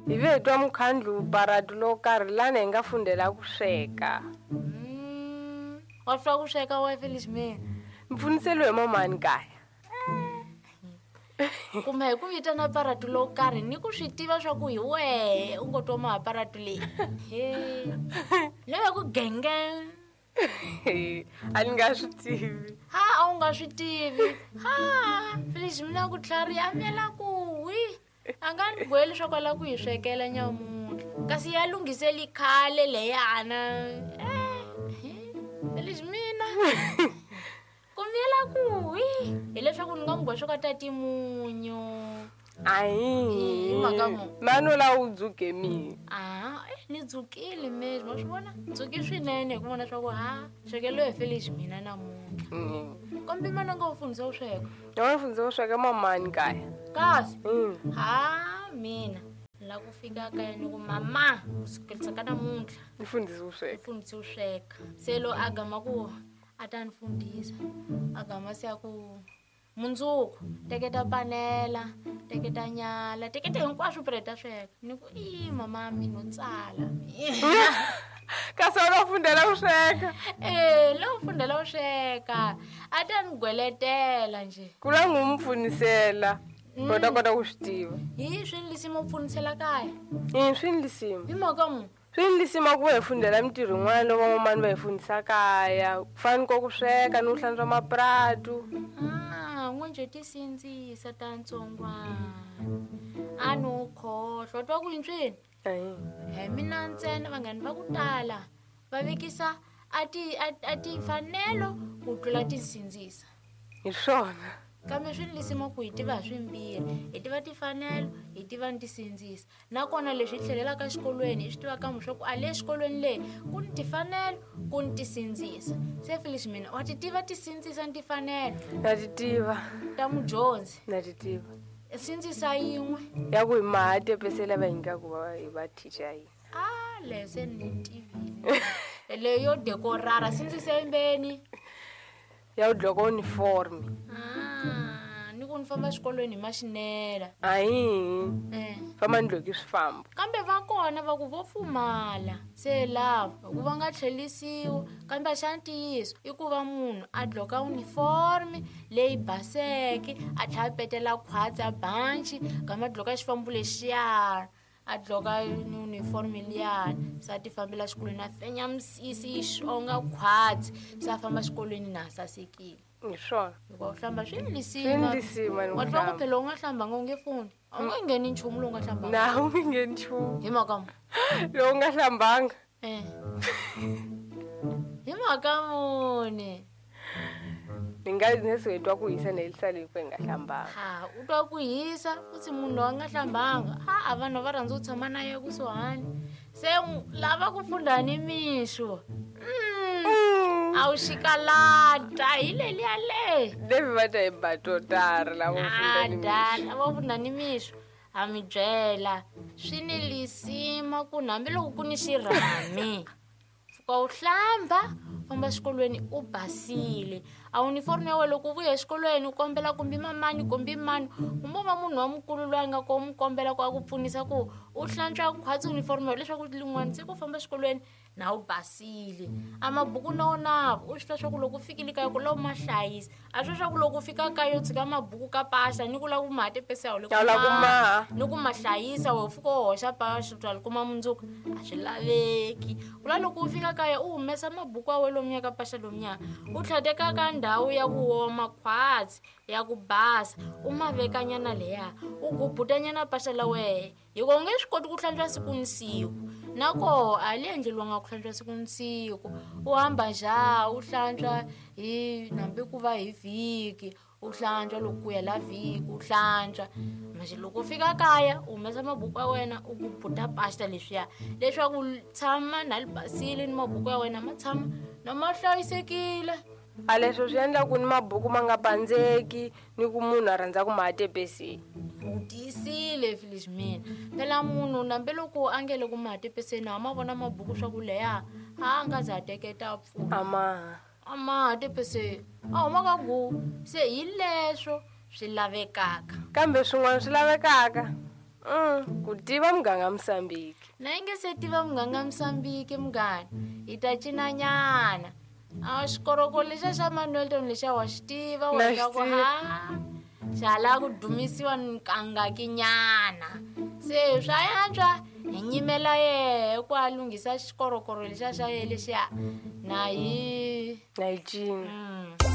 Hi ve hi twa mukhandlu paratu lowo karhi lani hi nga fundela ku sweka. Wa swi ku sweka wa Felix mina. Ni pfuniseliwe hi mamani kaya. Kumbe hi ku vitana paratu lowo karhi ni ku swi tiva swa ku hi wehe u ngo twa maha paratu leyi. He. Leyi ku genge. A ni nga swi tivi. Ha a wu nga swi tivi. Ha Felix mina ku tlhariha a miyela ku wi. A nga ni gweli swa kwala ku hi swekela nyamuntlha. Kasi ya lunghiseli khale leyana. Felix mina. Ku miyela ku wi hileswaku ni nga n'wi gwa swo ka tati munyu. Ayi. Hi mhaka mu. Mani u la u dzuke mina. Ah, ni dzukile mezi ma swi vona dzuki swinene hi ku vona swa ku ha swekelo hi Felix mina namuntlha. Kambe mani a nga wu fundisa ku sweka? Ni nga fundisa ku sweka mamani kaya. Kasi? Ha mina la ku fika kaya ni ku mama ku sukelisa ka namuntlha. Ni fundisa ku sweka. Ni fundisa ku sweka. Se lo a gama ku a ta ni fundisa a gama se a ku mundzuku teketa panela teketa nyala teketa hinkwaswo phela ta sweka ni ku i mama mina no tsala. Kasi a lo fundela ku sweka. Lo fundela ku sweka a ta ni gweletela nje. Ku la n'wi mu pfunisela u ta kota ku swi tiva. Hi swi ni lisima ku pfunisela kaya. I swi ni lisima. Hi mhaka mu. Swi ni lisima ku va hi fundela mintirho yin'wana loko van'wamani va hi fundisa kaya ku fana ni ko ku sweka ni ku hlantswa mapuratu. Ah, n'we njhe ti sindzisa ta ntsongwana a no khohlwa twa ku yintswini. Hi mina ntsena vanghani va ku tala va vekisa a ti a timfanelo ku tlula tinsindzisa. Hi swona. Kambe swi ni lisima ku hi tiva hi swimbirhi hi tiva timfanelo hi tiva ni tisindzisa nakona leswi hi tlhelelaka exikolweni hi swi tiva kambe swa ku a le xikolweni leyi ku ni timfanelo ku ni tisindzisa. Se Felix mina wa ti tiva tisindzisa ni timfanelo? Na ti tiva. Ta mudyondzi? Na ti tiva. Sindzisa yin'we. Ya ku hi maha tepese lava hi nyikaka va hi va teacher ya hina. Ah, leyo se ni tivile. Leyo yo dekorara sindzisa yimbeni. Ya ku dloka uniform. Ah, ni ku ni famba xikolweni hi maxinela. Ayi. Famba ni dloki swifambo. Kambe va kona va ku vo pfumala. Se lava ku va nga tlhelisiwi kambe xa ntiyiso i ku va munhu a dloka uniform leyi baseke a tlhela a petela khwatsi a banci kambe a dloka xifambo lexiya a dloka uniform liyani se a ti fambela xikolweni a fenya misisi yi xonga khwatsi se a famba xikolweni na sasekile. Hi swona. Hikuva u hlamba swi ni lisima. Swi ni lisima ni Wa twa ku hlamba. phela u nga hlambanga u nge funi. A wu nge ngheni nchumu lowu nga hlambanga. Na u nge ngheni nchumu. Hi mhaka mu. Lowu nga hlambanga. Hi mhaka muni. Ni nga ni se hi twa ku hisa ni helisa leyi ku hi nga hlambanga. Ha, u twa ku hisa futhi munhu loyi a nga hlambanga. Ha, a vanhu va rhandza ku tshama na yena kusuhani. Se lava ku funda ni mixo. A wu xikalata hi leliya le. Levi va ta hi batotara lava ku funda ni mixo. Ada, lava ku funda ni mixo. Ha mi byela swi ni lisima ku hambiloko ku ni xirhami. Pfuka u hlamba famba xikolweni u basile. A uniform ya wena loko u vuya exikolweni u kombela kumbe mamani kumbe mani kumbe va munhu wa mukulu loyi a nga ko mu kombela ku a ku pfunisa ku u hlantswa khwatsi uniform ya wena leswaku lin'wana siku u famba xikolweni na u basile. A mabuku na wona u swi tiva swa ku loko u fikile kaya ku la u ma hlayisa. A swi swa ku loko u fika kaya u tshika mabuku ka pahla ni ku lava ku ma tepesa ya le ku Ya lava ku maha. maha. Ni ku ma hlayisa we u fika u hoxa pahla u ta li kuma mundzuku a swi laveki. Ku la loko u fika kaya u humesa mabuku ya wena lomuya ka pahla lomuya u tlhela ka ndhawu ya ku woma khwatsi ya ku basa u ma vekanyana leya u gubutanyana pahla la wehe hikuva u nge swi koti ku hlantswa siku ni siku. Nakoho a li endleriwanga ku hlantswa siku ni siku u hamba njhani u hlantswa hi hambi ku va hi vhiki u hlantswa loko ku hela vhiki u hlantswa. Manje loko u fika kaya u humesa mabuku ya wena u gubuta pasta leswiya leswaku tshama na li basile ni mabuku ya wena ma tshama na ma hlayisekile. A leswo swi endla ku ni mabuku ma nga pandzeki ni ku munhu a rhandza ku ma tepeseni. U tiyisile Felix mina. Phela munhu nambe loko a nge le ku ma tepeseni a ma vona mabuku swa ku leha a nga za teketa pfuna. A ma. A ma tepeseni. A huma ka gu se hi leswo swi lavekaka. Kambe swin'wana swi lavekaka. Ku tiva muganga Musambiki. Na yi nge se tiva muganga Musambiki munghana, hi ta cinanyana. A xikoroko lexa xa Manuelton lexa wa xi tiva wa Na xi swa ku tiva. ha xa lava ku dumisiwa nkangakinyana. Se swa yantswa hi nyimela yehe ku a lunghisa xikorokoro lexa xa ye lexiya na hi Na yi cina.